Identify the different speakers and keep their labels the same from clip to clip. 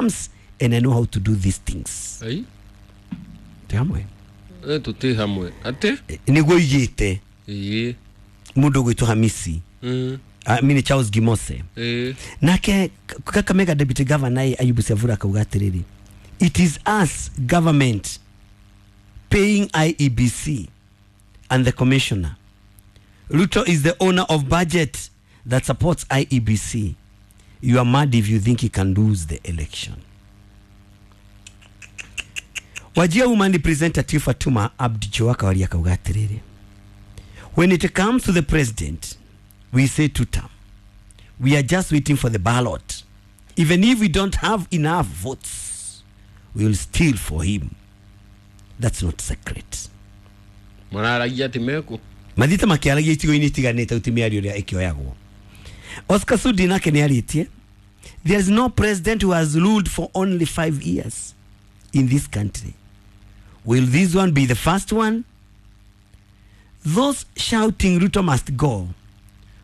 Speaker 1: Terms and I know how to do these things.
Speaker 2: Ai.
Speaker 1: Tĩ hamwe?
Speaker 2: Tũtĩ hamwe atĩ.
Speaker 1: Nĩguo igĩte.
Speaker 2: Ĩĩ.
Speaker 1: Mũndũ ũgwĩtwo Hamisi, I mean Charles Gimose. Nake Kakamega Deputy Governor Ayubu Savura akauga atĩrĩrĩ, "It is us, government, paying IEBC and the commissioner. Ruto is the owner of budget that supports IEBC. You are mad if you think he can lose the election." Wajir Woman Representative Fatuma Abdi Joaka waria akauga atĩrĩrĩ, "When it comes to the president, we say two term. We are just waiting for the ballot. Even if we don't have enough votes, we will steal for him. That's not secret."
Speaker 2: Mararagia atĩ mekũ.
Speaker 1: Mathiĩte makĩaragia icigo-inĩ itiganĩte uti mĩario ĩrĩa ĩkĩoyagwo. Oscar Sudi nake nĩ arĩtie, "There is no president who has ruled for only 5 years in this country. Will this one be the first one? Those shouting 'Ruto must go,'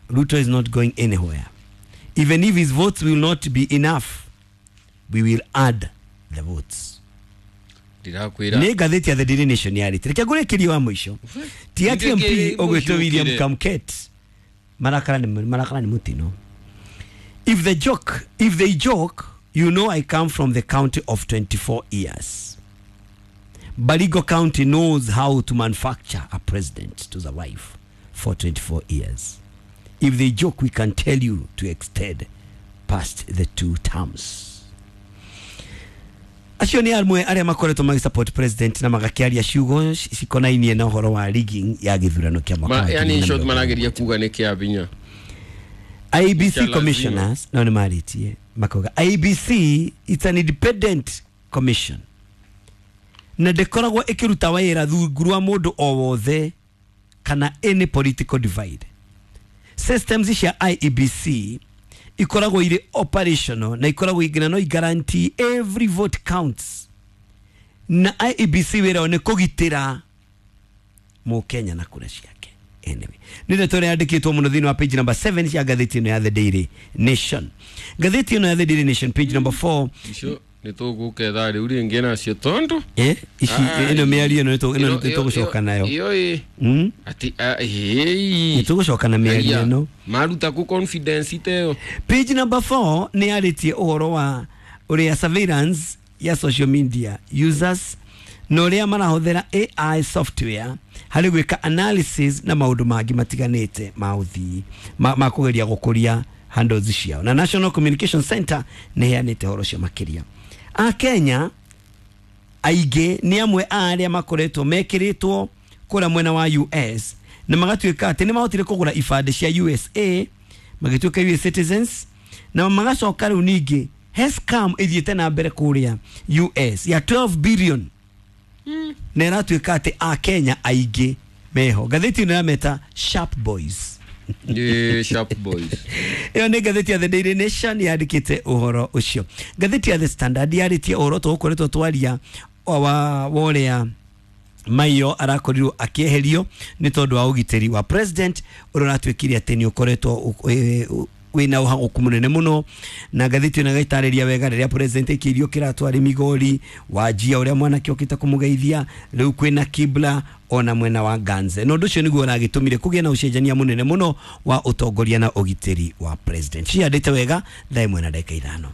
Speaker 1: Ruto is not going anywhere. Even if his votes will not be enough, we will add the votes."
Speaker 2: Ndirakwĩra.
Speaker 1: Nĩ ngathĩti ya The Daily Nation yarĩte. Reke ngũrĩkĩrie wa mũico ti ati MP
Speaker 2: Nĩkĩ
Speaker 1: ũgwĩtwo William
Speaker 2: mũhiũkire?
Speaker 1: Kamket. Marakara nĩ marakara nĩ mũtino. If the joke, if they joke, you know I come from the county of 24 years. Baringo County knows how to manufacture a president to survive for 24 years. If they joke, we can tell you to extend past the two terms." Acio nĩ amwe arĩa makoretwo magĩsupport president na magakĩaria ciugo cikonainie na ũhoro wa rigging ya gĩthurano kĩa mwaka wa
Speaker 2: Yani in short
Speaker 1: 2020.
Speaker 2: Marageria kuga nĩ kĩa binya.
Speaker 1: IEBC
Speaker 2: Kĩa lazima.
Speaker 1: Commissioners nao nĩ marĩtie makauga IEBC, it's an independent commission na ndĩkoragwo ĩkĩruta wĩra rungu rwa mũndũ o wothe kana any political divide. Systems cia IEBC ikoragwo irĩ operational na ikoragwo nginya no guarantee every vote counts, na IEBC wĩra wao nĩ kũgitĩra mũkenya na kura ciake. Anyway, nĩ ndeto ĩrĩa yandĩkĩtwo mũno thĩinĩ wa page number 7 cia ngathĩti ĩno ya The Daily Nation. Ngathĩti ĩno ya The Daily Nation, page number 4.
Speaker 2: Icio nĩ tũgũketha rĩu rĩngĩ nacio tondũ
Speaker 1: Ici ĩno mĩario ĩno ĩno nĩ tũgũcoka nayo.
Speaker 2: Iyo ĩ atĩ
Speaker 1: Nĩ
Speaker 2: ĩĩ.
Speaker 1: tũgũcoka na mĩario ĩno.
Speaker 2: Maruta ku confidence teo.
Speaker 1: Page number 4 nĩ yarĩtie ũhoro wa ũrĩa surveillance ya social media users na ũrĩa marahũthĩra AI software harĩ gwĩka analysis na maũndũ mangĩ matiganĩte ma ũthii ma kũgeria gũkũria handles ciao, na National Communication Center nĩ ĩheanĩte ũhoro ũcio makĩria. A Kenya aingĩ nĩ amwe a arĩa makoretwo mekĩrĩtwo kũrĩa mwena wa US na magatuĩka atĩ nĩ mahotire kũgũra ibandĩ cia USA, magĩtuĩka US citizens, na magacoka rĩu ningĩ he scam ĩthiĩte na mbere kũrĩa US ya 12 billion na ĩratuĩka atĩ a Kenya aingĩ meho. Ngathĩti ĩno yameta Sharp Boys.
Speaker 2: Ĩ, Sharp Boys.
Speaker 1: Ĩyo nĩ ngathĩti ya The Daily Nation yandĩkĩte ũhoro ũcio. Ngathĩti ya The Standard yarĩtie ũhoro tũgũkoretwo twaria wa ũrĩa Maiyo arakorirwo akĩeherio nĩ tondũ wa ũgitĩri wa president ũrĩa ũratuĩkire atĩ nĩ ũkoretwo wĩna ũhagũku mũnene mũno, na ngathĩti ĩno ĩgaitarĩria wega rĩrĩa president aikĩirio kĩratũ arĩ Migori, wanjia ũrĩa mwanake ũkĩte kũmũgeithia rĩu kwĩna kibla ona mwena wa Ganze, na ũndũ ũcio nĩguo ũragĩtũmire kũgĩe na ũcenjania mũnene mũno wa ũtongoria na ũgitĩri wa president. Ciandĩte wega 1:05.